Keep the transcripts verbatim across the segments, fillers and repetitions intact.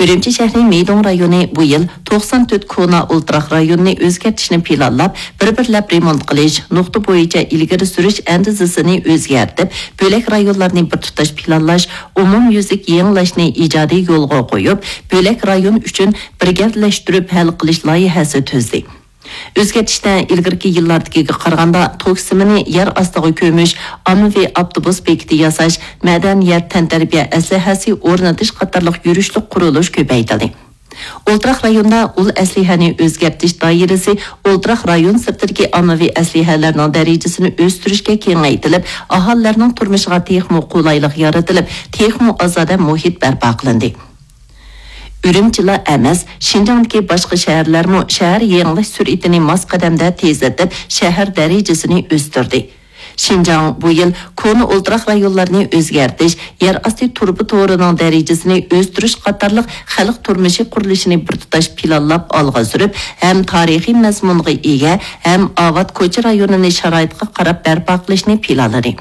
ئۈرۈمچى شەھىرى مىدۇڭ رايونى بۇ يىل توقسان تۆت كونا ئولتۇراق رايوننى ئۆزگەرتىشنى پىلانلاپ، بىر-بىرلەپ رېمونت قىلىش، نۇقتا بويىچە ئىلگىرى سۈرۈش ئەندىزىسىنى ئۆزگەرتىپ، بۆلەك رايونلارنى بىر تۇتاش پىلانلاش، ئومۇميۈزلۈك يېڭىلاشنى ئىجادىي يولغا قويۇپ، بۆلەك رايون ئۈچۈن بىر گەۋدىلەشتۈرۈپ ھەل قىلىش لايىھەسى تۈزدى. ئۆزگەرتىشتە ئىلگىرىكى يىللاردىكىگە قارىغاندا توك سىمىنى يەر ئاستىغا كۆمۈش، ئاممىۋى ئاپتوبۇس بېكىتى ياساش، مەدەنىيەت، تەنتەربىيە ئەسلىھەسى ئورنىتىش قاتارلىق يۈرۈشلۈك قۇرۇلۇش كۆپەيتىلدى. ئولتۇراق رايوندا ئۇل ئەسلىھەنى ئۆزگەرتىش دائىرىسى ئولتۇراق رايون سىرتىدىكى ئاممىۋى ئەسلىھەلەرنىڭ دەرىجىسىنى ئۆستۈرۈشكە كېڭەيتىلىپ، ئاھالىلەرنىڭ تۇرمۇشىغا تېخىمۇ قولايلىق يارىتىلىپ، تېخىمۇ ئازادە مۇھىت بەرپا قىلىندى. ئۈرۈمچىلا ئەمەس، شىنجاڭدىكى باشقا شەھەرلەرمۇ شەھەر يېڭىلاش سۈرئىتىنى ماس قەدەمدە تېزلىتىپ، شەھەر دەرىجىسىنى ئۆستۈردى. شىنجاڭ بۇ يىل كونا ئولتۇراق رايونلارنى ئۆزگەرتىش، يەر ئاستى تۇرۇبا تورىنىڭ دەرىجىسىنى ئۆستۈرۈش قاتارلىق خەلق تۇرمۇشى قۇرۇلۇشىنى بىر تۇتاش پىلانلاپ ئالغا سۈرۈپ، ھەم تارىخىي مەزمۇنغا ئىگە، ھەم ئاۋات كوچا رايونىنى شارائىتقا قاراپ بەرپا قىلىشنى پىلانلىدى.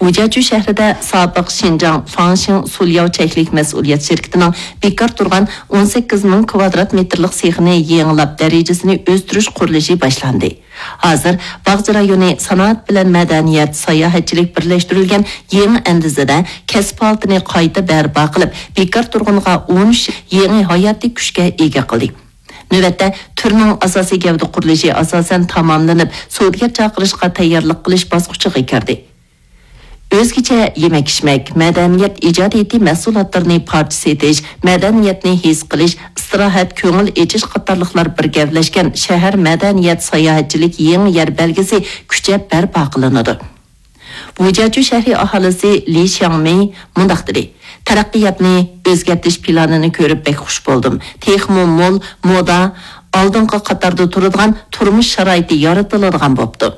ۋۇجياچۈ شەھىرىدە سابىق شىنجاڭ فاڭشىڭ سۇلياۋ چەكلىك مەسئۇلىيەت شىركىتىنىڭ بىكار تۇرغان ئون سەككىز مىڭ كۋادرات مېتىرلىق سېخىنى يېڭىلاپ، دەرىجىسىنى ئۆستۈرۈش قۇرۇلۇشى باشلاندى. ھازىر باغچە رايونى سانائەت بىلەن مەدەنىيەت، ساياھەتچىلىك بىرلەشتۈرۈلگەن يېڭى ئەندىزىدە كەسىپ ھالىتىنى قايتا بەرپا قىلىپ، بىكار تۇرغۇنغا ئون ئۈچ يېڭى ھاياتىي كۈچكە ئىگە قىلدى. نۆۋەتتە، تۈرنىڭ ئاساسىي گەۋدە قۇرۇلۇشى ئاساسەن تاماملىنىپ، سودىگەر چاقىرىشقا تەييارلىق قىلىش باسقۇچىغا كىردى. ئۆزگىچە يېمەك-ئىچمەك، مەدەنىيەت ئىجادىيىتى مەھسۇلاتلىرىنى پارچە سېتىش، مەدەنىيەتنى ھېس قىلىش، ئىستىراھەت، كۆڭۈل ئېچىش قاتارلىقلار بىر گەۋدىلەشكەن شەھەر مەدەنىيەت ساياھەتچىلىك يېڭى يەر بەلگىسى كۈچەپ بەرپا قىلىنىدۇ. ۋۇجياچۈ شەھىرى ئاھالىسى لى شياڭمېي مۇنداق دېدى: تەرەققىياتنى ئۆزگەرتىش پىلانىنى كۆرۈپ بەك خۇش بولدۇم. تېخىمۇ مول، مودا، ئالدىنقى قاتاردا تۇرىدىغان تۇرمۇش شارائىتى يارىتىلىدىغان بوپتۇ.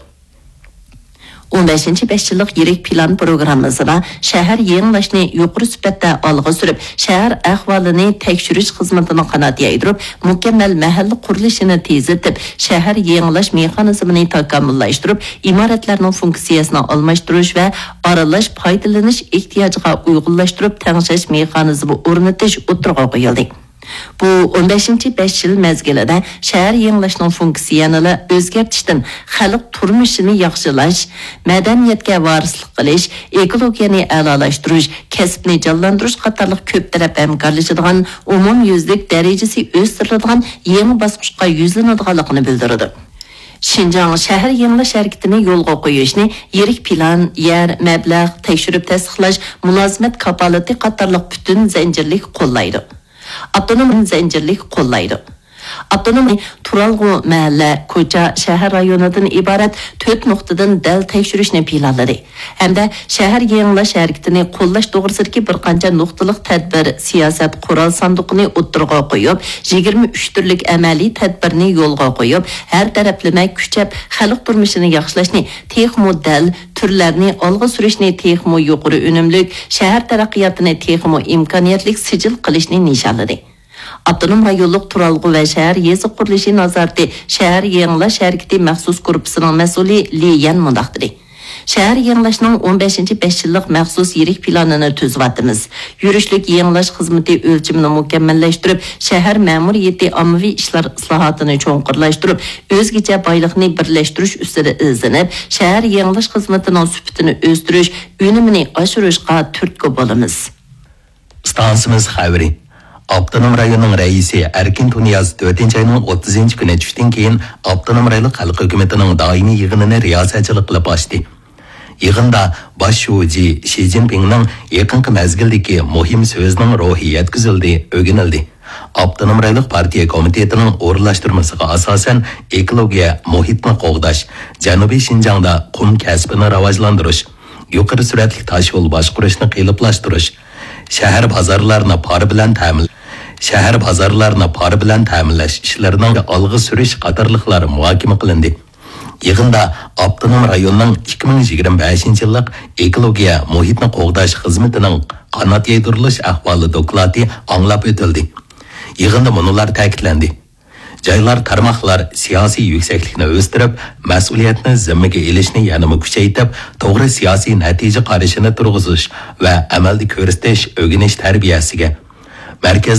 ئون بەشىنچى بەش يىللىق يىرىك پىلان پروگراممىسىدا شەھەر يېڭىلاشنى يۇقىرى سۈپەتتە ئالغا سۈرۈپ، شەھەر ئەھۋالىنى تەكشۈرۈش خىزمىتىنى قانات يايدۇرۇپ، مۇكەممەل مەھەللە قۇرۇلۇشىنى تېزلىتىپ، شەھەر يېڭىلاش مېخانىزمىنى تاكامۇللاشتۇرۇپ، ئىمارەتلەرنىڭ فۇنكسىيەسىنى ئالماشتۇرۇش ۋە ئارىلاش پايدىلىنىش ئېھتىياجىغا ئۇيغۇنلاشتۇرۇپ تەڭشەش مېخانىزمى ئورنىتىش ئوتتۇرىغا قويۇلدى. بۇ ئون بەشىنچى بەش يىل مەزگىلىدە شەھەر يېڭىلاشنىڭ فۇنكسىيەنىلا ئۆزگەرتىشتىن خەلق تۇرمۇشىنى ياخشىلاش، مەدەنىيەتكە ۋارىسلىق قىلىش، ئېكولوگىيەنى ئەلالاشتۇرۇش، كەسىپنى جانلاندۇرۇش قاتارلىق كۆپ تەرەپ ھەمكارلىشىدىغان، ئومۇميۈزلۈك دەرىجىسى ئۆستۈرۈلىدىغان يېڭى باسقۇچقا يۈزلىنىدىغانلىقىنى بىلدۈرىدۇ. شىنجاڭ شەھەر يېڭىلاش ھەرىكىتىنى يولغا قويۇشنى يىرىك پىلان، يەر، مەبلەغ، تەكشۈرۈپ تەستىقلاش، مۇلازىمەت كاپالىتى قاتارلىق پۈتۈن زەنجىرلىك قوللايدۇ. ئاپتونوم زەنجىرلىك قوللايدۇ. ئاپتونوم تۇرالغۇ مەھەللە، كوچا، شەھەر رايونىدىن ئىبارەت تۆت نۇقتىدىن دەل تەكشۈرۈشنى پىلانلىدى ھەمدە شەھەر يېڭىلاش ھەرىكىتىنى قوللاش توغرىسىدىكى بىر قانچە نۇقتىلىق تەدبىر، سىياسەت، قورال ساندۇقىنى ئوتتۇرىغا قويۇپ، يىگىرمە ئۈچ تۈرلۈك ئەمەلىي تەدبىرنى يولغا قويۇپ، ھەر تەرەپلىمە كۈچەپ خەلق تۇرمۇشىنى ياخشىلاشنى تېخىمۇ دەل، تۈرلەرنى ئالغا سۈرۈشنى تېخىمۇ يۇقىرى ئۈنۈملۈك، شەھەر تەرەققىياتىنى تېخىمۇ ئىمكانىيەتلىك سىجىل قىلىشنى نىشانلىدى. ئاپتونوم رايونلۇق تۇرالغۇ ۋە شەھەر يېزا قۇرۇلۇشى نازارىتى شەھەر يېڭىلاش ھەرىكىتى مەخسۇس گۇرۇپپىسىنىڭ مەسئۇلى لى يەن مۇنداق دېدى: شەھەر يېڭىلاشنىڭ ئون بەشىنچى بەش يىللىق مەخسۇس يىرىك پىلانىنى تۈزۈۋاتىمىز. يۈرۈشلۈك يېڭىلاش خىزمىتى ئۆلچىمىنى مۇكەممەللەشتۈرۈپ، شەھەر مەمۇرىيىتى ئاممىۋى ئىشلار ئىسلاھاتىنى چوڭقۇرلاشتۇرۇپ، ئۆزگىچە بايلىقنى بىرلەشتۈرۈش ئۈستىدە ئىزدىنىپ، شەھەر يېڭىلاش خىزمىتىنىڭ سۈپىتىنى ئۆستۈرۈش، ئۈنۈمىنى ئاشۇرۇشقا تۈرتكە بولىمىز. ئىستانسىمىز خەۋىرى. ئاپتونوم رايوننىڭ رەئىسى ئەركىن تۇنىياز تۆتىنچى ئاينىڭ ئوتتۇزىنچى كۈنى چۈشتىن كېيىن ئاپتونوم رايونلۇق خەلق ھۆكۈمىتىنىڭ دائىمىي يىغىنىنى رىياسەتچىلىك قىلىپ ئاچتى. يىغىندا باش شۇجى شى جىنپىڭنىڭ يېقىنقى مەزگىلدىكى مۇھىم سۆزىنىڭ روھى يەتكۈزۈلدى، ئۆگىنىلدى. ئاپتونوم رايونلۇق پارتىيە كومىتېتىنىڭ ئورۇنلاشتۇرمىسىغا ئاساسەن، ئېكولوگىيە، مۇھىتنى قوغداش، جەنۇبىي شىنجاڭدا قۇم كەسپىنى راۋاجلاندۇرۇش، يۇقىرى سۈرئەتلىك تاشيول باشقۇرۇشنى قېلىپلاشتۇرۇش، شەھەر بازارلارنى پارا بىلەن تەمىن، شەھەر بازارلارنى پارا بىلەن تەمىنلەش ئىشلىرىنىڭ ئالغا سۈرۈش قاتارلىقلار مۇھاكىمە قىلىندى. يىغىندا ئاپتونوم رايوننىڭ ئىككى مىڭ يىگىرمە بەشىنچى يىللىق ئېكولوگىيە مۇھىتنى قوغداش خىزمىتىنىڭ قانات يايدۇرۇلۇش ئەھۋالى دوكلاتى ئاڭلاپ ئۆتۈلدى. يىغىندا مۇنۇلار تەكىتلەندى: جايلار، تارماقلار سىياسىي يۈكسەكلىكنى ئۆستۈرۈپ، مەسئۇلىيەتنى زىممىگە ئېلىشنى يەنىمۇ كۈچەيتىپ، توغرا سىياسىي نەتىجە قارىشىنى تۇرغۇزۇش ۋە ئەمەلدە كۆرسىتىش، ئۆگىنىش تەربىيەسىگە، مەركەز